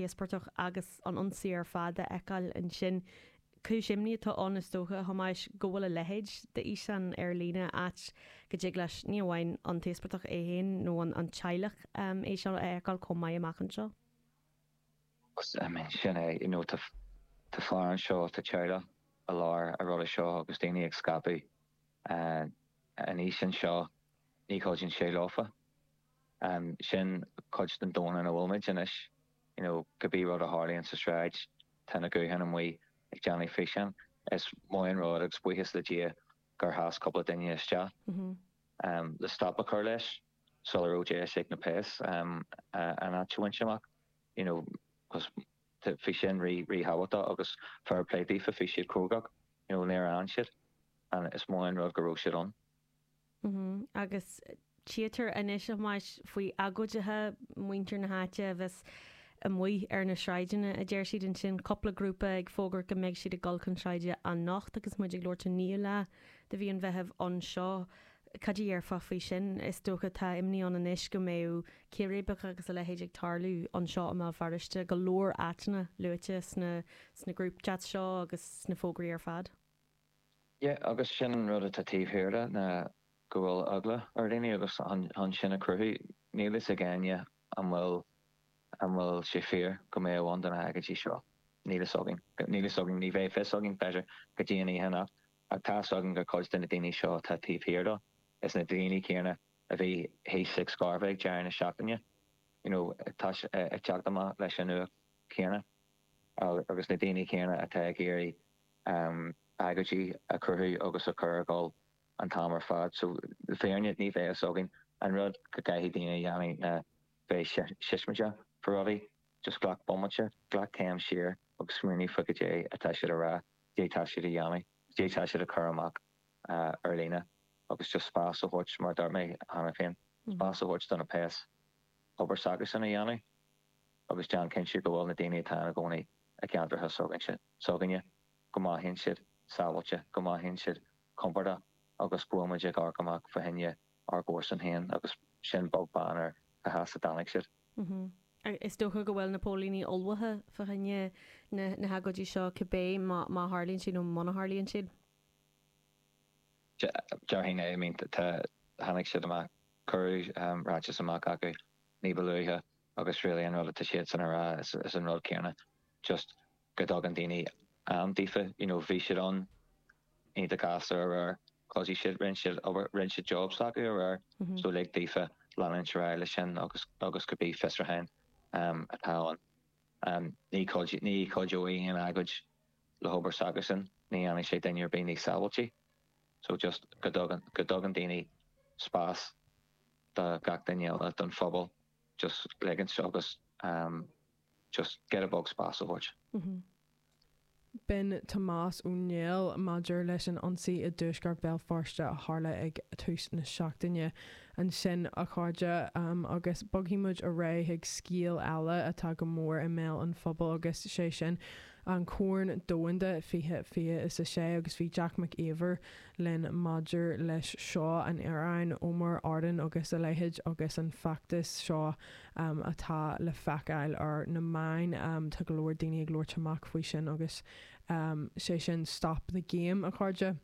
t-íospartach agus an ionsaí ar fad a fheiceáil ansin. Cúis imní atá ann, is dócha, a Thomáis, go bhfuil a leithéid d'fhíseán ar líne, áit go dtig leis, ní amháin an t-íospartach é féin nó an teaghlach é seo a fheiceáil chomh maith amach anseo. I mean, sin é, you know, tá fear anseo, tá teaghlach i lár an ruda seo agus daoine ag scaipeadh an fhíseáin seo, ní chuidíonn sé leofa. Sin cuid den domhan ina bhfuil muid anois, you know, cibé rud a tharlaíonn sa sráid, Tá na gutháin amuigh ag déanamh físeán. Is maith an rud agus buíochas le Dia gur sheas cúpla duine isteach le stop a chur leis sula raibh deis ag na péas an áit a bhaint amach you know cos bhí sin rí ríthábhachtach agus fair play daofa bhí siad crógach you know níor fhan siad and is maith an rud go raibh siad ann. Agus tchítear anois, a Thomáis, faoi agóidithe, muintir na háite a bheas amuigh ar na sráideanna, a deir siad ansin, cúpla grúpa ag fógairt go mbeidh siad ag dul chun sráide anocht agus muid ag labhairt an naoú lá de mhí an Mheithimh anseo. Cad a dhéarfá faoi sin? Is dócha tá imní ann anois go mbeadh círéibeacha agus a leithéid ag tarlú anseo i mBéal Feirste, go leor áiteanna luaite sna sna group chats seo agus sna fógraí ar fad. Yeah agus sin an rud atá taobh thiar de ná go bhfuil eagla ar dhaoine agus chun sin a chruthú. Níl fhios ag éinne an bhfuil an bhfuil sé fíor go mbeadh ann do na hagóidí seo. Níl fhios againn. Níl fhios againn, ní bheidh fios againn b'fhéidir go dtí an oíche anocht ach tá fhios againn gur cuid de na daoine seo atá taobh thiar dó is na daoine céanna a bhí thíos ag Scairbh ag deireadh na seachtaine you know tá ag teacht amach leis an nuacht chéanna agus na daoine céanna atá ag iarraidh agóidí a chruthú agus a chur ag dul an t-am ar fad. So, le fírinne, ní bheidh fhios againn. An rud go gcaithfidh daoine a dhéanamh ná bheith siosmaideach fá rudaí. Just glac bomaite, glac céim siar agus smaoinigh fá goidé atá siad a rá, goidé tá siad a dhéanamh, goidé tá siad a chur amach ar líne agus just spás a thabhairt, mar a dúirt mé cheana féin, spás a thabhairt do na péas obair s'acusan a dhéanamh agus déan cinnte go bhfuil na daoine atá ina gcónaí i gceantracha s'againne, go mothaíonn siad sábháilte, go mothaíonn siad compordach agus go bhfuil muid ag amharc amach fá choinne ár gcomharsan féin agus sin beag beann ar cá has a dtáinig siad. Is dócha go bhfuil na póilíní ullmhaithe fá choinne na hagóidí seo cibé má tharlaíonn siad nó muna tharlaíonn siad. Déarfainn é, I mean tá, tháinig siad amach, cuireadh ráiteas amach acu ní ba luaithe agus really an rud atá siadsan a rá is an rud céanna. just go dtugann daoine am daofa, you know, bhí siad ann iontach gasta aréir, chuidigh siad, rinne siad obair, rinne siad job s'acu aréir, so lig daofa leanúint ar aghaidh leis sin agus agus cibé fiosrúchán atá ann. Ní chuid, ní chuideoidh aon agóid le hobair s'acusan, ní dhéanfaidh sé duine ar bith níos sábháilte. So just go dtugann, go dtugann daoine spás do gach duine eile, don phobal, just ligint agus just giota beag spás a thabhairt. B'in Tomás Ó Néill maidir leis an ionsaí i dtuaisceart Bhéal Feirste a tharla ag tús na seachtaine. Ansin, a chairde, agus bogfaidh muid ar aghaidh chuig scéal eile atá go mór i mbéal an phobail agus sé sin an Corn Domhanda 2026 agus bhí Jack Mac Íomhair linn maidir leis seo, an Iaráin, Omar Arden agus a leithéid agus an feachtas seo atá le feiceáil ar na meáin. Tá go leor daoine ag labhairt amach faoi sin agus sé sin Stop the Game, a chairde.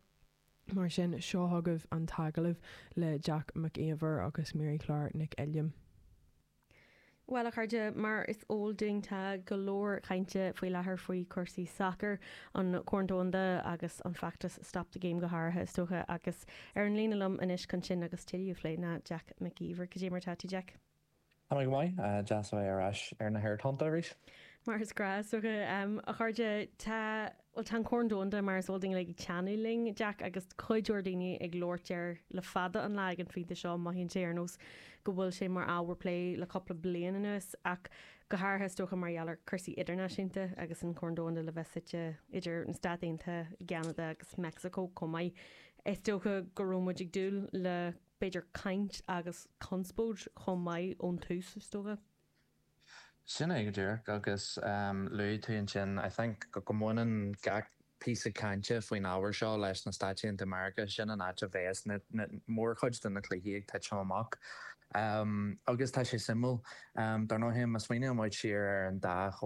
Mar sin, seo chugaibh an t-agallamh le Jack Mac Íomhair agus Mary Claire Nic Uilliam. Bhuel, a chairde, mar is eol dúinn tá go leor cainte faoi láthair faoi chúrsaí sacair, an Corn Domhanda agus an feachtas Stop the Game go háirithe, is dócha, agus ar an líne liom anois chun sin agus tuilleadh a phlé ná Jack Mac Íomhair. Cad é mar tá tú, Jack? Tá mé go maith. Deas a bheith ar ais ar na haerthonnta arís. Mar is gnách, is dócha. A chairde, tá, bhuel, tá an Corn Domhanda, mar is eol dúinn, ag teannadh linn, Jack, agus cuid mhór daoine ag labhairt air le fada an lá ag an phointe seo. Mothaíonn sé ar nós go bhfuil sé mar ábhar plé le cúpla bliain anuas, ach go háirithe, is dócha, mar gheall ar chúrsaí idirnáisiúnta agus an Corn Domhanda le bheith suite idir na Stáit Aontaithe, i gCeanada agus Meicsiceo chomh maith. Is dócha go raibh muid ag dúil le b'fhéidir caint agus conspóid chomh maith ón tús, is dócha. Sin é go díreach agus luaigh tú ansin, I think, go mbaineann gach píosa cainte faoin ábhar seo leis na Stáit Aontaithe Meiriceá, sin an áit a bheas na mórchuid de na cluichí ag titim amach. Agus tá sé suimiúil, dar ndóigh, má smaoiníonn muid siar ar an dá.